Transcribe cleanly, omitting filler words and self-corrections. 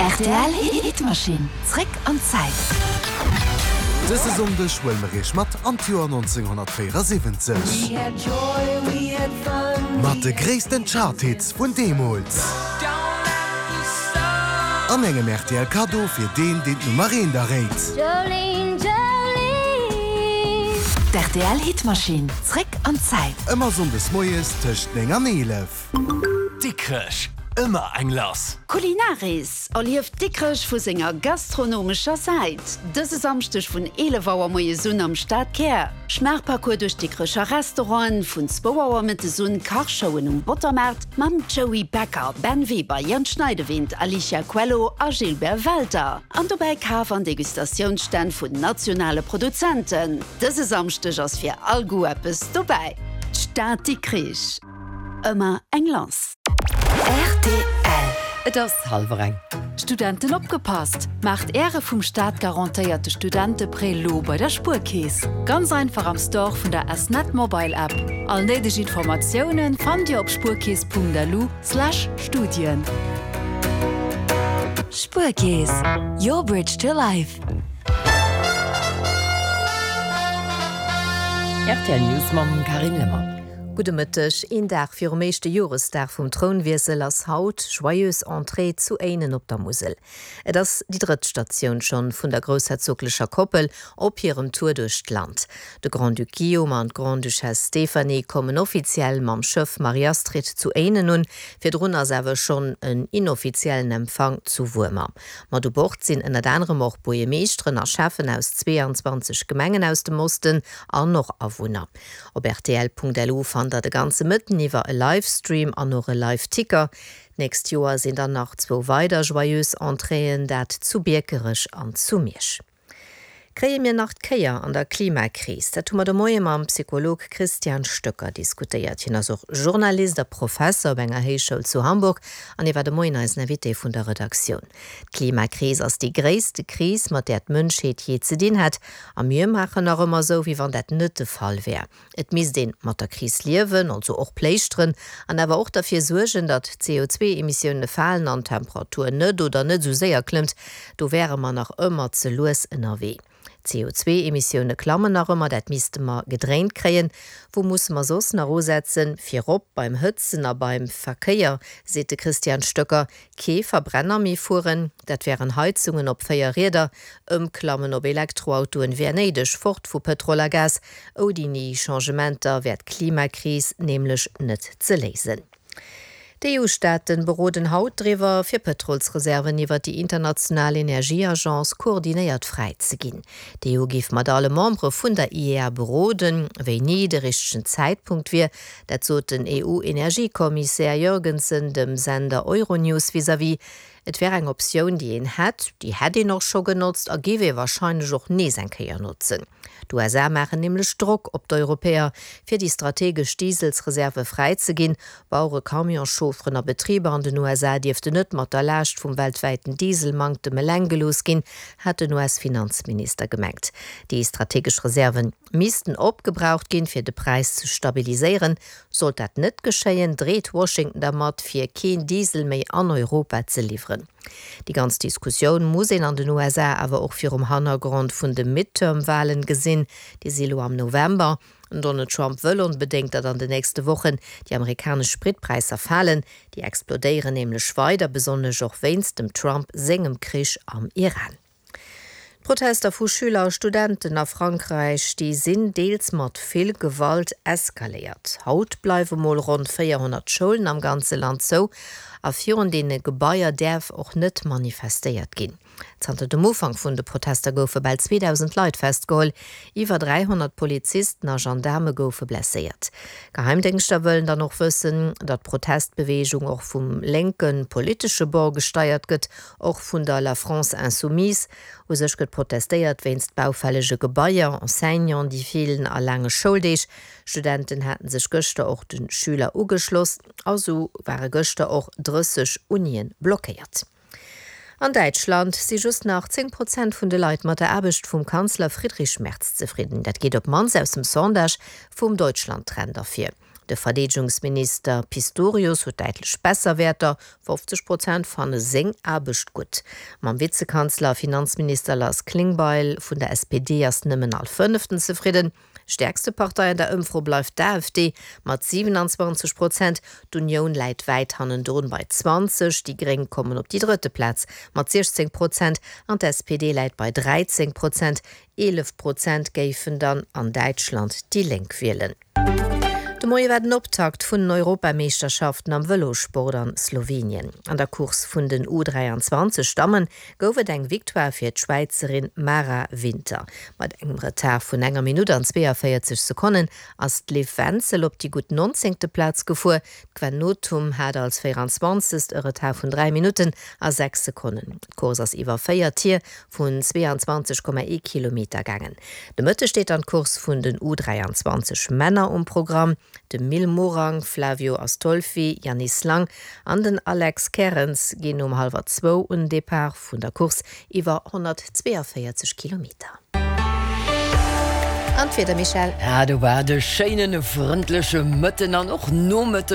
Rtl Hitmaschinn, zréck an d'Zäit. Dëse Sonndeg huele mer iech mat an d'Joer 1974. Mat de gréissten Charthits vun deemools. An engem rtl Kaddo fir deen, deen d'Nummer eent erréit. D'RTL Hitmaschinn, zréck an d'Zäit. Ëmmer Sonndes moies tëscht 9 an 11. Dikrech, ëmmer eng lass! Culinaris, Erlieft Dikrech vu senger gastronomescher Säit, dëse Samschdeg vun 11 Auer moies un am Stadkär. Schmaachparcours duerch d'Dikrecher Restauranten, vun zwou Auer mëttes un Kachshowen um Bottermaart mam Joey Becker, Ben Weber, Jan Schneidewind, Alicia Coelho a Gilbert Welter. An dobäi Kaf an Degustatiounsstänn vun nationale Produzenten. Dëse Samschdeg ass fir all Goût eppes dobäi. D'Stad Dikrich. Ëmmer eng lass. Rtl. Et ass hallwer eng. Studenten opgepasst! Maacht Äre vum Staat garantéierte Studenteprêt lo bei der Spuerkeess. Ganz einfach am Store vun der S-Net Mobile App. All néideg Informatiounen fannt Dir op spuerkeess.lu slash Studien. Spuerkeess, your bridge to life. Rtl News mam Carine Lemmer. Gudde Mëtteg. Een Dag virum éischte Joresdag vum Trounwiessel ass haut Joyeuse Entrée zu Éinen op der Musel. Et ass déi drëtt Statioun schonn vun der groussherzoglecher Koppel op hirem Tour duerch d'Land. De Grand-Duc Guillaume an d'Grande-Duchesse Stéphanie kommen offiziell mam Schëff Marie-Astrid zu Éinen un. Virdrun ass awer schonn en inoffiziellen Empfang zu Wuermer. Mat u Bord sinn ënnert anerem och Buergemeeschteren a Schäffen aus 22 Gemengen aus dem Osten an och Awunner. Op rtl.lu fannt der de ganze Mëtten iwwer e Livestream an och e Live-Ticker. D'nächst Joer sinn dann nach zwou weider Joyeuse Entréeën, dat zu Biekerech an zu Miersch. Kréie mir nach d'Kéier an der Klimakris? Dat hu mer de Moie mam Psycholog Christian Stöcker diskutéiert. Hien ass och Journalist a Professer op enger Héichschoul zu Hamburg an hie war de Moien eisen Invité vun der Redaktioun. D'Klimakris ass déi gréisste Kris, mat där d'Mënschheet jee ze dinn hätt. A mir maachen nach ëmmer esou, wéi wann dat net de Fall wär. Et misst een mat der Kris liewen, also och pléischteren, an awer och derfir suergen, datt d'CO2-Emissioune falen an d'Temperatur net oder net esou séier klëmmt. Do wäre mer nach ëmmer ze lues ënnerwee. D'CO2-Emissioune klammen nach ëmmer, dat misste mer gedréint kréien. Wou musse mer soss nach usetzen? Virop beim Hëtzen a beim Verkéier, seet de Christian Stöcker. Kee Verbrenner méi fueren, dat wären Heizungen op 4 Rieder, ëmklammen op Elektroautoen wär néideg, fort vu Pëtrol a Gas. Ouni Changementer wär d'Klimakris nämlech net ze léisen. D'EU-Staaten beroden haut driwwer, fir Pëtrolsreserven iwwer déi international Energieagence koordinéiert fräi ze ginn. D'EU géif mat alle Membere vun der IEA beroden, wéini de richtegen Zäitpunkt wier, Dat sot den EU-Energiekommissär Jørgensen dem Sender Euronews vis-à-vis. Et wär eng Optioun, déi een hätt, déi hätt een och scho genotzt a géif ee warscheinlech och nees eng Kéier notzen. D'USA maachen nämlech Drock op d'Europäer, fir déi strategesch Dieselsreserve fräi ze ginn. Bauere, Camionschaufferen a Betriber an den USA dierften net mat der Laascht vum weltwäiten Dieselmanktem eleng gelooss ginn, hat den US-Finanzminister gemengt. Déi strategesch Reserven missten opgebraucht ginn, fir de Präis ze stabiliséieren. Sollt dat net geschéien, dreet Washington dermat, fir keen Diesel méi an Europa ze liwweren. Déi ganz Diskussioun muss een an den USA awer och virum Hannergrond vun de Midterm-Walen gesinn. Déi si lo am November. Den Donald Trump wëll onbedéngt, datt an de nächste Wochen déi amerikanesch Spritpräisser falen. Déi explodéieren nämlech weider, besonnesch och wéinst dem Trump sengem Krich am Iran. D'Protester vu Schüler a Studenten a Frankräich, déi sinn deels mat vill Gewalt eskaléiert. Haut bleiwe mol ronn 400 Schoulen am ganze Land zou a virun deene Gebaier däerf och net manifestéiert ginn. Zanter dem Ufank vun de Protester goufe bal 2.000 Leit festgeholl, iwwer 300 Polizisten a Gendaarme goufe blesséiert. Geheimdéngschter wëllen dann och wëssen, datt d'Protestbeweegung och vum lénke politesche Bord gesteiert gëtt Och vun der La France Insoumise. U sech gëtt protestéiert wéinst baufällege Gebaier, Enseignanten, déi feelen a laange Schouldeeg. Studenten haten sech gëschter och de Schüler ugeschloss a sou ware gëschter och 30 Unien blockéiert. An Däitschland si just nach 10 Prozent vun de Leit mat der Aarbecht vum Kanzler Friedrich Merz zefridden. Dat geet op d'mannst aus dem Sondage vum Deutschland-Trend ervir. De Verdeedegungsminister Pistorius huet däitlech besser Wäerter, 50 Prozent fanne seng Aarbecht gutt. Mam Vizekanzler a Finanzminister Lars Klingbeil vun der SPD ass nëmmen all Fënneften zefridden. Stäerkste Partei an der Ëmfro bleift d'AfD mat 27 Prozent. D'Unioun läit wäit hannendrun bei 20, déi Gréng kommen op déi drëtte Plaz mat 16 Prozent an d'SPD läit bei 13 Prozent. 11 Prozent géifen dann an Däitschland déi Lénk wielen. De Moie war den Optakt vun den Europameeschterschaften am Vëlossport an Slowenien. An der Course vun den U 23 Dammen gouf et eng Victoire fir d'Schwäizerin Mara Winter. Mat engem Retard vun enger Minutt an 42 Sekonnen ass d'Liv Wenzel op déi gutt nonzéngte Plaz gefuer. D'Gwen Nothum hat als 24. E Retard vun 3 Minutten a 6 Sekonnen. D'Course ass iwwer 4 Tier vun 22,1 Kilometer gaangen. De Mëtteg steet dann d'Course vun den U23 Männer um Programm. De Mil Morang, Flavio Astolfi, Yanis Lang an den Alex Kerens ginn um hallwer zwou un Depart vun der Course iwwer 142 Kilometer. An d'Wieder, Michèle? Ah, do war de schéinen, frëndleche Mëtten an och Nomëtten.